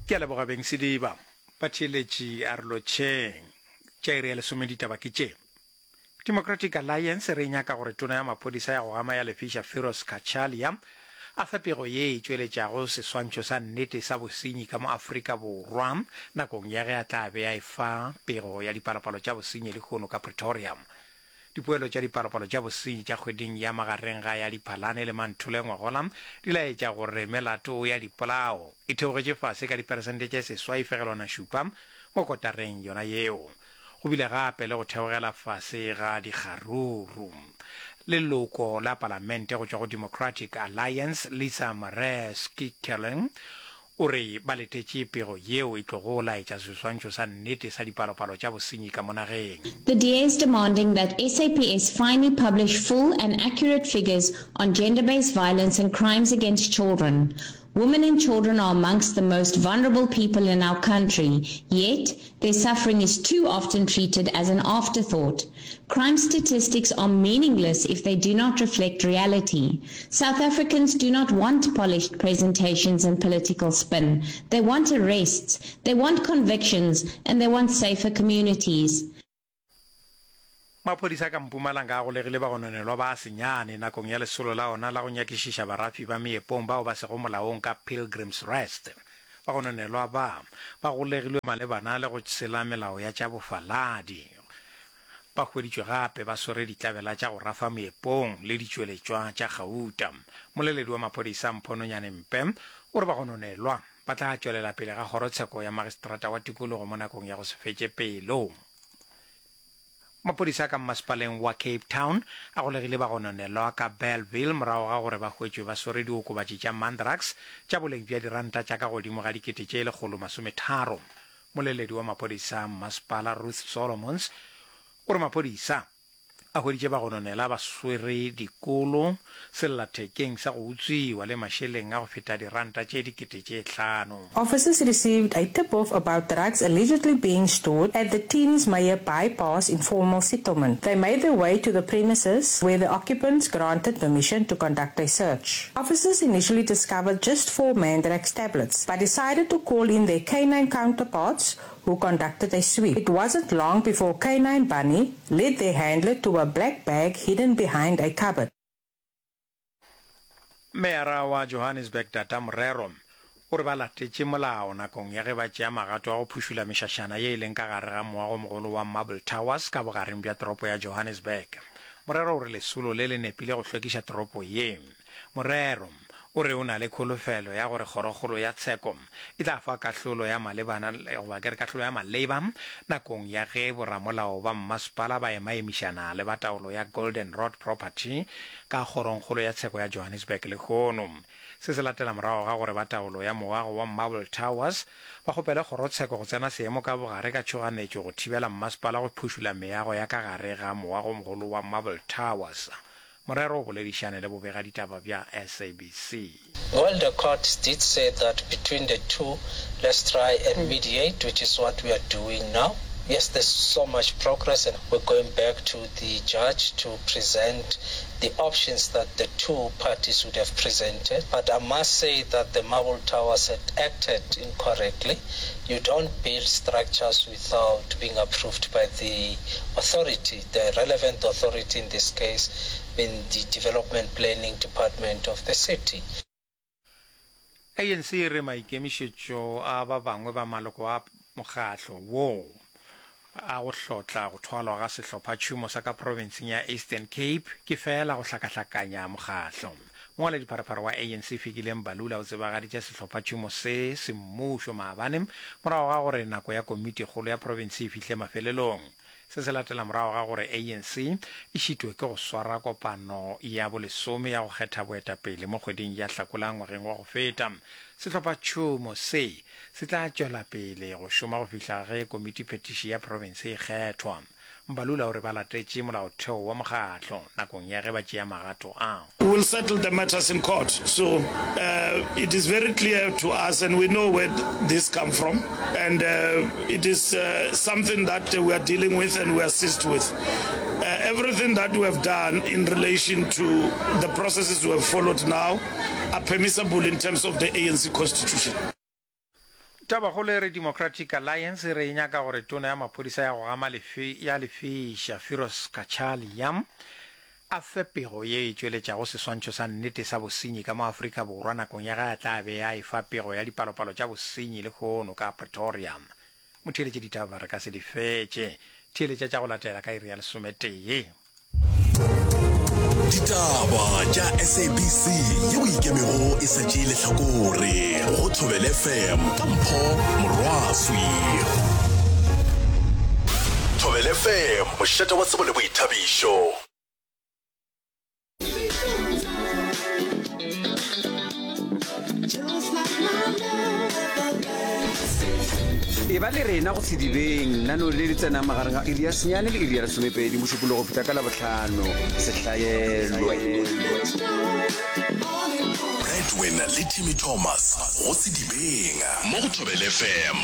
Ke a leboga beng Sediba. Batheeletši a re lotšheng. Tša iri ya lesome ditaba ke tše. Democratic Alliance e re e nyaka gore tona ya maphodisa ya go gama ya lefiša Firoz Cachalia a fe pego ye e tšweletšago seswantšho sa nnete sa bosenyi ka mo Afrika Borwa nakong ya ge a tla be a efa pego ya dipalopalo tša bosenyi lehono ka Pretoria. Dipoelo tša dipalopalo tša bosenyi tša kgweding ya magareng ga ya Diphalane le Manthole ngwagola di laetša gore melato ya dipolao e theogetše fase ka diperesente tše 6.7 mo kotareng yona yeo. Go bile gape le go theogela fase ga dikgaruru. Leloko la Palamente go tšwa go Democratic Alliance, Lisa Marais Kikkerling, O re ba letetše pego yeo e tlogo laetša seswantšho sa nnete sa dipalopalo tša bosenyi ka mo nageng. The DA is demanding that SAPS finally publish full and accurate figures on gender-based violence and crimes against children. Women and children are amongst the most vulnerable people in our country, yet their suffering is too often treated as an afterthought. Crime statistics are meaningless if they do not reflect reality. South Africans do not want polished presentations and political spin. They want arrests, they want convictions, and they want safer communities. Maphodisa ka Mpumalanga a golegile bagononelwa ba senyane nakong ya lesolo la ona la go nyakišiša barafi ba meepong bao ba sego molaong ka Pilgrim's Rest. Bagononelwa ba ba golegilwe malebana le go tshela melao ya tša bofaladi. Ba hweditšwe gape ba swere ditlabela tša go rafa meepong le ditšweletšwa tša gauta. Moleledi wa maphodisa Mpho Nonyane Mpe o re bagononelwa ba tla tšwelela pele ga kgorotsheko ya magistrata wa tikologo mo nakong ya go se fetše pelo. Maphodisa ka mmasepaleng wa Cape Town a golegile bagononelwa ka Bellville morago ga gore ba hwetšwe ba swere diokobatši tša Mandrax tša boleng bja diranta tša ka godimo ga dikete tše 130. Moleledi wa maphodisa mmasepala Ruth Solomons o re maphodisa a hweditše bagononela ba swere dikolo sellathekeng sa go utswiwa le mašeleng a go feta diranta tše dikete tše hlano. Officers received a tip-off about drugs allegedly being stored at the Teens Meyer Bypass informal settlement. They made their way to the premises where the occupants granted permission to conduct a search. Officers initially discovered just four Mandrax tablets, but decided to call in their canine counterparts who conducted a sweep. It wasn't long before Canine Bunny led their handler to a black bag hidden behind a cupboard. Meyara wa Johannesburg Tata Morero o re ba latetše molao nakong ya ge ba tšea magato a go phušula mešašana ye e leng ka gare ga moagomogolo wa Marble Towers ka bogareng bja toropo ya Johannesburg. Morero o re lesolo le le nepile go hlwekiša toropo ye. Morero o re o na le kholofelo ya gore Kgorokgolo ya Tsheko e tla fa kahlolo ya malebana goba ke re kahlolo ya maleba nakong ya ge boramolao ba mmasepala ba emaemišana le ba taolo ya Golden Rod Property ka Kgorongkgolo ya Tsheko ya Johannesburg lehono. Se se latela morago ga gore ba taolo ya moago wa Marble Towers ba kgopele kgorotsheko go tsena seemo ka bogare ka tšhoganetšo go thibela mmasepala go phušula meago ya ka gare ga moagomogolo wa Marble Towers. Morero o boledišane le bobegaditaba bja SABC. Well the court did say that between the two let's try and mediate which is what we are doing now. Yes there's so much progress and we're going back to the judge to present the options that the two parties would have presented but I must say that the Marble Towers had acted incorrectly. You don't build structures without being approved by the authority, the relevant authority in this case being the Development Planning Department of the city. ANC e re maikemišetšo a ba bangwe ba maloko a mokgatlo wo a go hlotla go thwalwa ga sehlophatšhomo sa ka profenseng ya Eastern Cape ke feela go hlakahlakanya mokgatlo. Mongwaledipharephare wa ANC Fikile Mbalula o tsebagaditše sehlophatšhomo se semmušo maabane morago ga gore nako ya komitikgolo ya profense e fihle mafelelong. Se se latela morago ga gore ANC e šitwe ke go swara kopano ya bolesome ya go kgetha boetapele mo kgweding ya Hlakola ngwageng wa go feta. Sehlophatšhomo se se tla tšwela pele go šoma go fihla ge komitiphethiši ya profense e kgethwa. Mbalula o re ba latetše molaotheo wa mokgatlo nakong ya ge ba tšea magato a. We will settle the matters in court so it is very clear to us and we know where this come from and it is something that we are dealing with and we assist with everything that we have done in relation to the processes we have followed now are permissible in terms of the ANC constitution. Tabakgolo e re Democratic Alliance e re e nyaka gore tona ya maphodisa ya go gama lefe ya lefeša Firoz Cachalia a fe pego ye e tšweletšago seswantšho sa nnete sa bosenyi ka mo Afrika Borwa nakong ya ge a tla be a efa pego ya dipalopalo tša bosenyi lehono ka Pretoria. Motheeletše ditaba re ka se di fetše. Theeletša tša go latela ka iri ya lesometee. Ditaba tša SABC yeo e ikemego e sa tšee lehlakore go Thobela FM ka Mpho Morwaswi. Thobela FM, mošate wa tsebo le boithabišo. E ba le rena go Sedibeng, nano le le tsenang magareng ga iri ya senyane le iri ya lesomepedi Mošupologo go fihla ka Labohlano. Sehlaelwe. Bradwin le Timmy Thomas go Sedibeng mo go Thobela FM.